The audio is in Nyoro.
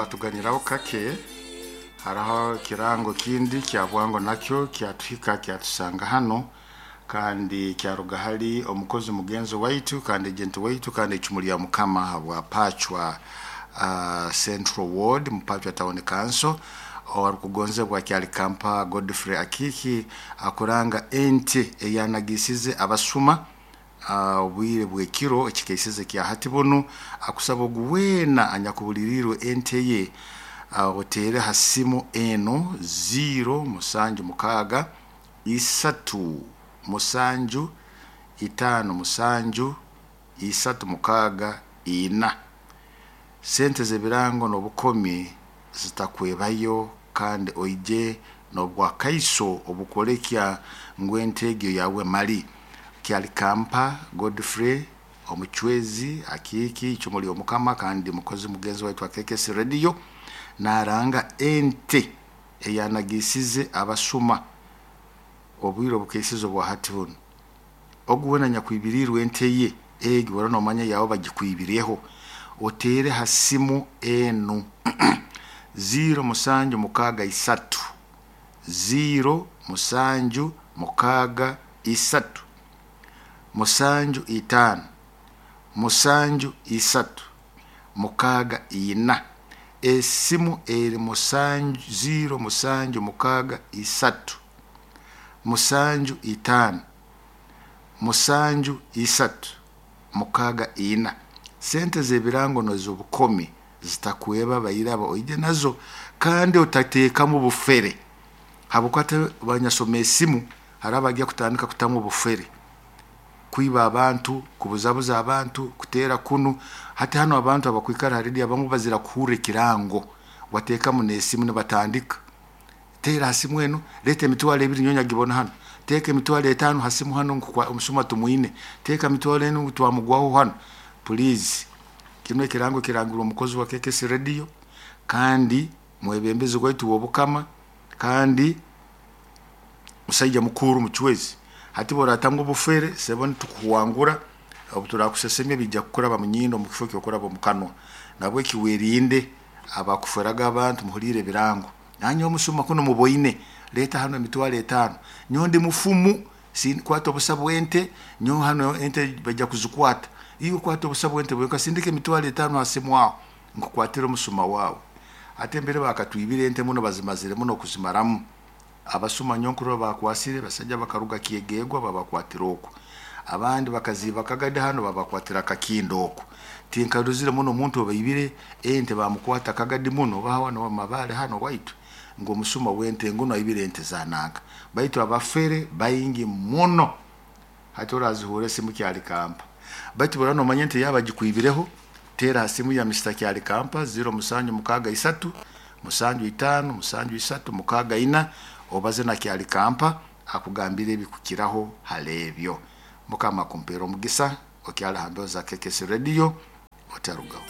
Twatuganyiraho kake. Haraho ekirango kindi kya bwango, nakyo kyatuhika, kyatusanga hano, kandi kyaruga hali omukozi mugenzi waitu kandi agent waitu kandi icumu lya Mukama habwa Pachwa Central Ward mu Pachwa Town Council, owarukugonzebwa Kyalikampa Godfrey Akiki, akuranga ente eyanagisize abasuma obwire bw'ekiro ekikaisize kya hati bunu. Akusaba ogu weena anyakubulirirwe ente ye, oteere ha simu enu 0 7 6 3 7 5 7 3 6 4. Sente z'ebirango n'obukomi zitakwebayo, kandi oije n'obwakaiso obukwolekya ngu ente egyo yawe mali. Kyalikampa Godfrey Omucwezi Akiiki, icumu ly'Omukama kandi mukozi mugenzi waitu wa KKS Radio, naranga ente eyanagisize abasuma obwire obukaisize obwa hati bunu. Ogu weena anyakwibiriirwe ente ye egi, ora nomanya yawe bagikwibireho, oteere ha simu enu 0 7 6 3 0 7 6 3 7 5 7 3 6 4. Esimu eri 7 0 7 6 3 7 5 7 3 6 4. Sente z'ebirango n'ez'obukomi zitakweba, bairaba oije nazo, kandi otateekamu bufere, habwokuba ate banyasoma esimu hariho abajya kutandika kutamu obufere, kwiba abantu, kubuzabuza abantu, kuteera kunu. Hati hanu abantu abakwikara ha rediyo abamu bazira kuhurra ekirango, wateekamu n'esimu nibatandika teera ha simu enu, leeta 20,000 nyowe nyagibona hanu, teeka 50,000 ha simu hanu, omusuma tumwine, teeka 50,000 ngu twamugwaho hanu. Please, kinu ekirango kirangirwe omukozi wa KKS Radio kandi mwebembezi waitu w'Obukama kandi musaija mukuru mucwezi. Hati bworatamu obufere, sebo, nitukuhwangura. Obu turakusesemya bijja kukuraba mu nyindo mu kifo ky'okuraba omu kanwa. Nabweki werinde abakuferaga abantu. Muhuliire ebirango, nanyowe omusuma kunu muboine, leeta hano 50,000, nyowe ndi mufumu, kwata obusa bw'ente, nyowe hano ente bajja kuzikwata, iwe kwata obusa bw'ente bwenka, sindika 50,000 ha simu aho nkukwatire omusuma waawe. Ate mbere bakatwibire ente muno, bazimazire muno kuzimaramu abasuma. Nyonkuru bakwasire basaija bakaruga Kyegegwa, babakwatira oku, abandi bakaziiba Kagadi hano, babakwatira Kakindo oku. Tinkaruzire muno omuntu obaibire ente bamukwata Kagadi muno, baha hano Mabale hano waitu, ngu omusuma w'ente nguno aibire ente za nanka. Baitu abafere baingi muno. Hati orazihuura esimu Kyalikampa, baitu bwora nomanya ente yaba bagikwibireho, teera ha simu ya Mr Kyalikampa 0 7 6 3 7 5 7 3 6 4, obaze na Kyalikampa akugambire ebikukiraho hali ebyo. Mukama akumpera omugisa. Okyali ha mbeho za KKS Radio, otarugaho.